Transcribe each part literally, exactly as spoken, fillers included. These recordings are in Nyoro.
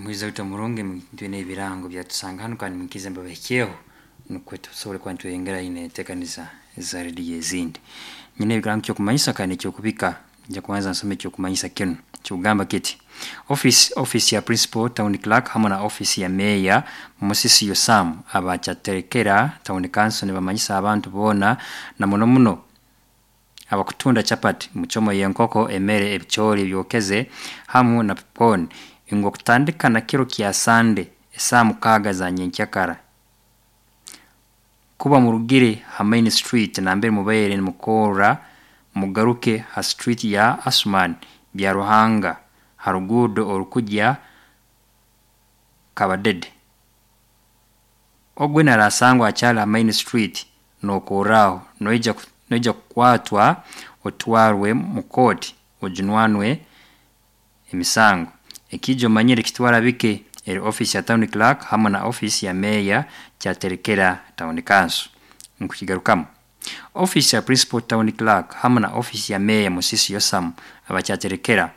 Muhizi waitu omurungi, twine ebirango byatusanga hanu kandi mwikirize mbabahikyeho nukwo tusobole kuba nitweyongerayo nentekaniza eza radio ezindi. Nyina ebirango ekyokumanyisa kandi nekyokubika, nja kubanza nsome ekyokumanyisa kinu, nikigamba kiti: office office ya principal town clerk hamu na office ya mayor Musisi Yosam aba Kyaterekera Town Council nibamanyisa abantu boona na muno muno abakutunda chapati, muchomo y'enkoko, emere, ebichooli ebyokeze hamu na popcorn ngu okutandika na kiro kya Sunday esaaha mukaaga za nyenkyakara, kuba murugire ha main street nambere mubaire nimukorra, mugaruke ha street ya Asuman Byaruhanga ha ruguudo orukugya Kabadede. Ogu weena araasangwa akyali ha main street nokorraho, noija noija kukwatwa otwarwe mu kooti ojunanwe emisango. Ekiija omanyire kitwara bike, eri office ya town clerk hamu na office ya mayor Kyaterekera Town Council. Nkukigarukamu, office ya principal town clerk hamu na office ya mayor Musisi Yosam aba Kyaterekera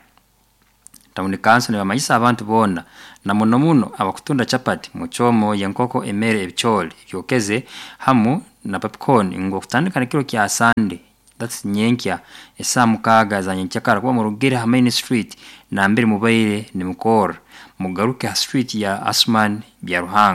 Town Council nibamanyisa abantu boona na muno muno abakutunda chapati, muchomo y'enkoko, emere, ebichooli ebyokeze hamu na popcorn ngu okutandika nekiro kya Sunday, that's nyenkya esaaha mukaaga za nyenkyakara, kuba murugire ha main street nambere mubaire nimukorra, mugaruke ha street ya Asuman Byaruhanga.